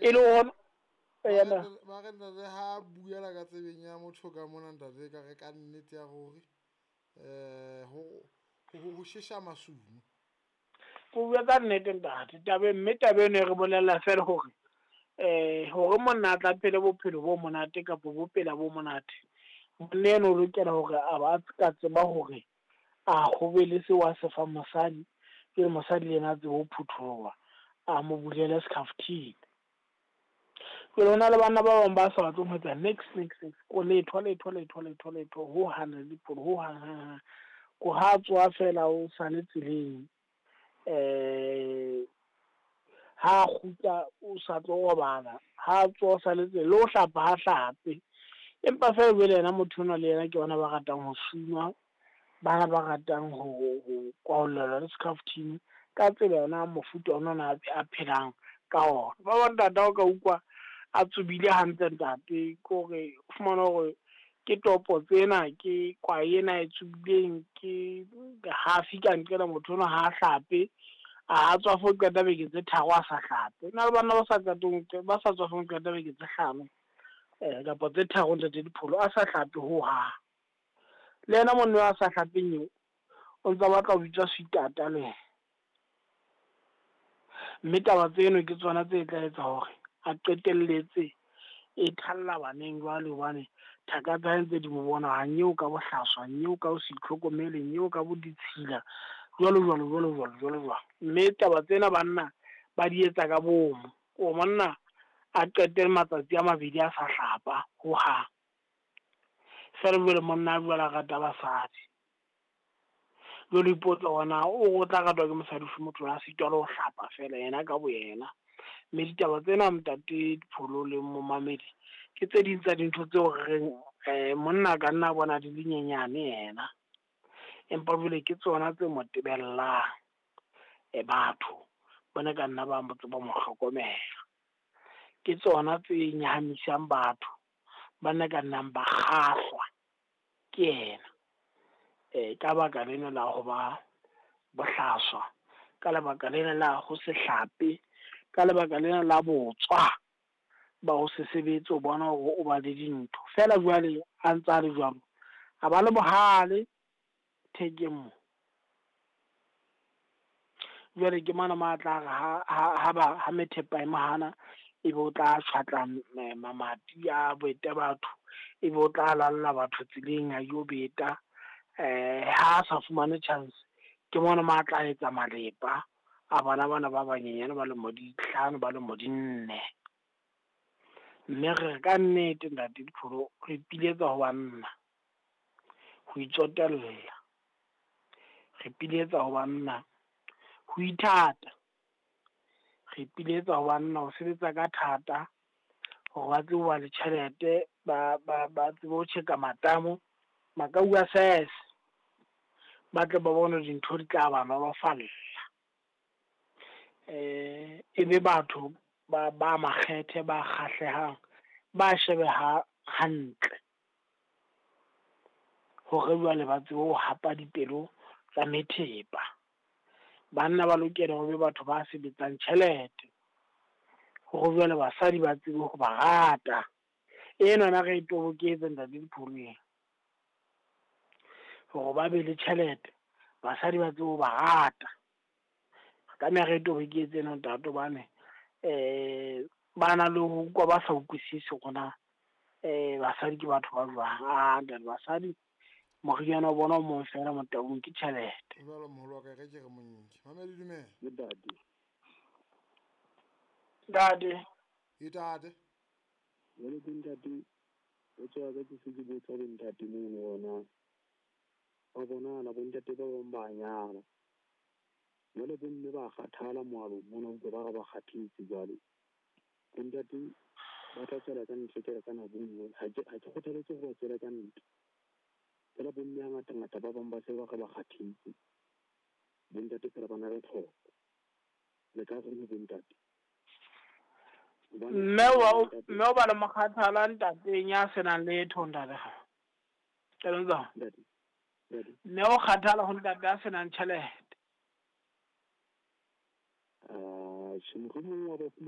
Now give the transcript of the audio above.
E le hona yena Ba re ntate ha buela ka tsebeng ya motho ka mona ntate ka re ka nnete ya ruri ho shesha masumu. Ko bua ka nnete ntate, taba mme taba eno e re bolella feela hore hore monna a tla phele bophelo bo monate kapa bo pela bo monate, monna eno o lokela hore a ba ka tseba hore a ho be le seo a se fang mosadi, pele mosadi le yena a tsebe ho phutholoha, a mo bulele skhaftini. Jwale hona le banna ba bang ba sa batleng ho etsa niks niks niks, ko letho letho letho letho letho hohang le hohang hang hang. Ko ha tsoha fela o sale tseleng, ha kgutla o sa tlo robala, ha tsoha o sale tseleng, le ho hlapa ha hlape. Empa feela jwale yena motho enwa le yena ke bona ba ratang ho sunwa, bana ba ratang ho kwahollelwa le skhaftini ka tsela yona mofuta ona ona a phelang ka ona. Ba bang ntate ha o ka utlwa a tsubile hantle ntate, ke hore o fumane hore ke topo tsena, ke kwae ena e tsubileng, ke hafi ka nqena motho enwa ha hlape, a tswa fo qeta beke tse 3 a sa hlape. Hona le banna ba sa qetong ba sa tswafeng ho qeta beke tse 5 kapa tse 3 ntate Dipholo a sa hlape hohang. Le yena monna a sa hlapeng eo o ntsa batla ho bitswa sweetata le yena. Mme taba tseno ke tsona tse tla etsa hore a qetelletse e thalla baneng jwale, hobane thaka tsa hae ntse di mo bona ha nyeo ka bohlaswa, nyeo ka ho se itlhokomele, nyeo ka bo ditshila, jwalo jwalo jwalo jwalo jwalo jwalo. Mme taba tsena banna ba di etsa ka bomo, o monna a qete matsatsi a 2 a sa hlapa hohang. Feela jwale monna a jwale a rata basadi. Jwale o ipotsa hore na o tla ratwa ke mosadi ofe, motho a sitwa le ho hlapa feela yena ka bo yena. Mme ditaba tsena ntate Dipholo le momamedi ke tse ding tsa dintho tseo re reng monna ka nna bona di le nyenyane yena, empa jwale ke tsona tse mo tebellang. Batho bona ka nna ba mo tseba mo hlokomela, ke tsona tse nyahamisang batho bana ka nnang ba kgahlwa ke yena ka baka lena la ho ba bohlaswa, ka lebaka lena la ho se hlape, ka lebaka lena la botswa ba ho se sebetse, o bona hore o ba le dintho feela. Jwale a ntse a le jwalo, a ba le bohale thekeng mo. Jwale ke mona mo a tla re ha methepa e mohana, ebe o tla tjhwatla mamati a bete batho, ebe o tla lalla batho tseleng a yo beta. Ha a sa fumane chance, ke mona mo a tla etsa malepa a bana bana ba banyenyane ba lemo di 5 ba lemo di 4. Mme re ka nnete ntate Dipholo, re ipiletsa ho banna ho itsotella, re ipiletsa ho banna ho ithata, re ipiletsa ho banna ho sebetsa ka thata hore ba tsebe ho ba le tjhelete, ba tsebe ho tjheka matamo, makau a sese, ba tle ba bone dintho di tla ba nolofalla. E be batho ba makgethe, ba kgahlehang, ba shebeha hantle hore jwale ba tsebe ho hapa dipelo tsa methepa. Banna ba lokela ho be batho ba sebetsang tjhelete hore jwale basadi ba tsebe ho ba rata. Enwana re e toboketse ntate Dipholo, hore ba be le tjhelete, basadi ba tsebe ho ba rata. Re tlameha re toboketse ena ntate, hobane ba na le ho utlwa ba sa utlwisise hore na basadi ke batho ba jwang. Ah ntate, basadi moriana wa bona o mong feela Motaung ke tjhelete. Jwalo moholo wa ka, re ke re monke. Mamedi dumela. Ntate. Ntate. Ntate. Jwale ke ntate, o tswa ka ke se ke botsa bo ntate mono hona. Ba bonahala bo ntate ba bang ba nyala. Jwale bo mme ba kgathala moalong mona, utlwa ba re ba kgathetse jwale. Bo ntate ba tla tswela ka ntle ke re ka nako e nngwe. Ha ke kgothaletse hore ba tswele ka ntle. Fela bo mme hangata-ngata ba bang ba se ba re ba kgathetse. Bo ntate fela ba na le tlhoko. Le ka reng bo ntate? Mme o ba le mokgathala ntateng ya senang letho ntate. Ntate. Mme o kgathala ho ntate ya senang tjhelete. Mohlomong wa ba